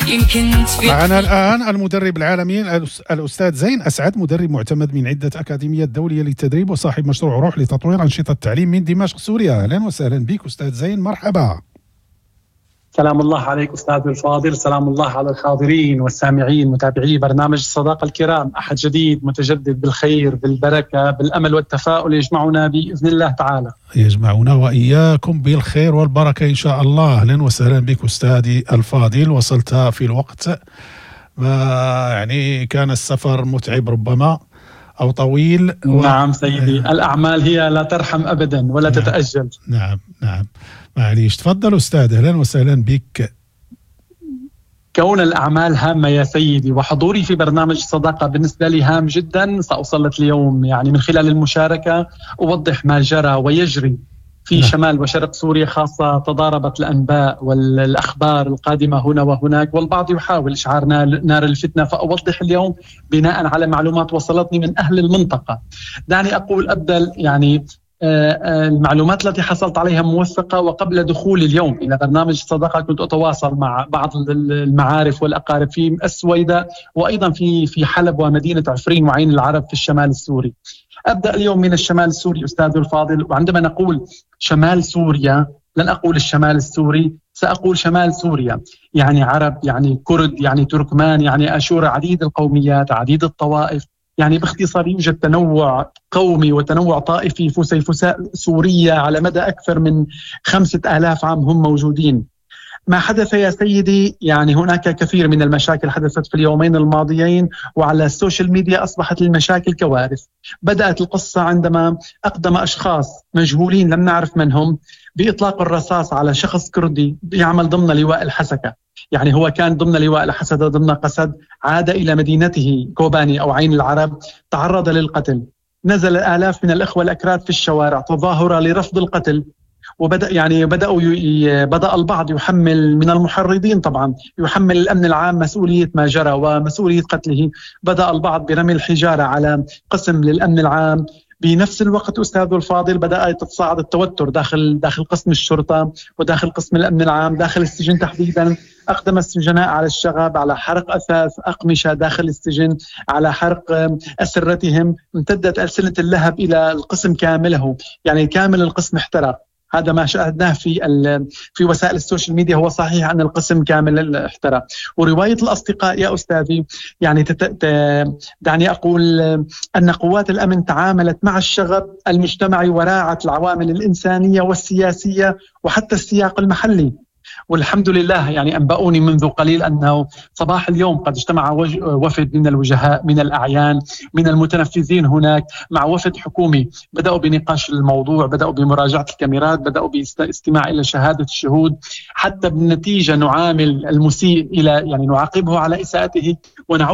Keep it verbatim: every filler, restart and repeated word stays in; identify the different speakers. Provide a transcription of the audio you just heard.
Speaker 1: يمكن تفيق.
Speaker 2: معنا الآن المدرب العالمي الأستاذ زين أسعد، مدرب معتمد من عدة أكاديميات دولية للتدريب وصاحب مشروع روح لتطوير أنشطة التعليم من دمشق سوريا. أهلا وسهلا بك أستاذ زين، مرحبا.
Speaker 3: سلام الله عليك أستاذ الفاضل، سلام الله على الحاضرين والسامعين متابعي برنامج الصداقة الكرام. أحد جديد متجدد بالخير بالبركة بالأمل والتفاؤل يجمعنا بإذن الله تعالى.
Speaker 2: يجمعنا وإياكم بالخير والبركة إن شاء الله. أهلا وسهلا بك أستاذي الفاضل، وصلت في الوقت، ما يعني كان السفر متعب ربما أو طويل
Speaker 3: و... نعم سيدي، الأعمال هي لا ترحم أبدا ولا
Speaker 2: نعم.
Speaker 3: تتأجل.
Speaker 2: نعم نعم معليش، تفضل أستاذ، أهلا وسهلا بك.
Speaker 3: كون الأعمال هامة يا سيدي، وحضوري في برنامج الصداقة بالنسبة لي هام جدا. سأسلط اليوم يعني من خلال المشاركة أوضح ما جرى ويجري في
Speaker 2: نعم.
Speaker 3: شمال وشرق سوريا، خاصة تضاربت الأنباء والأخبار القادمة هنا وهناك، والبعض يحاول إشعار نار الفتنة. فأوضح اليوم بناء على معلومات وصلتني من أهل المنطقة. دعني أقول أبدأ يعني المعلومات التي حصلت عليها موثقة، وقبل دخولي اليوم إلى برنامج الصداقة كنت أتواصل مع بعض المعارف والأقارب في السويداء وأيضا في في حلب ومدينة عفرين وعين العرب في الشمال السوري. أبدأ اليوم من الشمال السوري أستاذ الفاضل، وعندما نقول شمال سوريا لن أقول الشمال السوري، سأقول شمال سوريا، يعني عرب، يعني كرد، يعني تركمان، يعني أشورة، عديد القوميات، عديد الطوائف. يعني باختصار يوجد تنوع قومي وتنوع طائفي فسيفساء سوريا على مدى أكثر من خمسة آلاف عام هم موجودين. ما حدث يا سيدي، يعني هناك كثير من المشاكل حدثت في اليومين الماضيين، وعلى السوشيال ميديا أصبحت المشاكل كوارث. بدأت القصة عندما أقدم أشخاص مجهولين لم نعرف من هم بإطلاق الرصاص على شخص كردي يعمل ضمن لواء الحسكة. يعني هو كان ضمن لواء الحسكة ضمن قسد، عاد إلى مدينته كوباني أو عين العرب، تعرض للقتل. نزل آلاف من الإخوة الأكراد في الشوارع تظاهرة لرفض القتل، وبدأ يعني بدأوا ي... بدأ البعض يحمل من المحرضين طبعا، يحمل الأمن العام مسؤولية ما جرى ومسؤولية قتله. بدأ البعض برمي الحجارة على قسم للأمن العام. بنفس الوقت أستاذ الفاضل بدأ يتصاعد التوتر داخل داخل قسم الشرطة وداخل قسم الأمن العام، داخل السجن تحديدا. أقدم السجناء على الشغب، على حرق أثاث أقمشة داخل السجن، على حرق أسرتهم. امتدت ألسنة اللهب إلى القسم كامله، يعني كامل القسم احترق. هذا ما شاهدناه في في وسائل السوشيال ميديا، هو صحيح أن القسم كامل احترق. ورواية الأصدقاء يا أستاذي يعني تت... دعني أقول أن قوات الأمن تعاملت مع الشغب المجتمعي وراعت العوامل الإنسانية والسياسية وحتى السياق المحلي. والحمد لله يعني أنبأوني منذ قليل أنه صباح اليوم قد اجتمع وفد من الوجهاء، من الأعيان، من المتنفذين هناك مع وفد حكومي. بدأوا بنقاش الموضوع، بدأوا بمراجعة الكاميرات، بدأوا باستماع إلى شهادة الشهود، حتى بالنتيجة نعامل المسيء إلى يعني نعاقبه على إساءته ونعود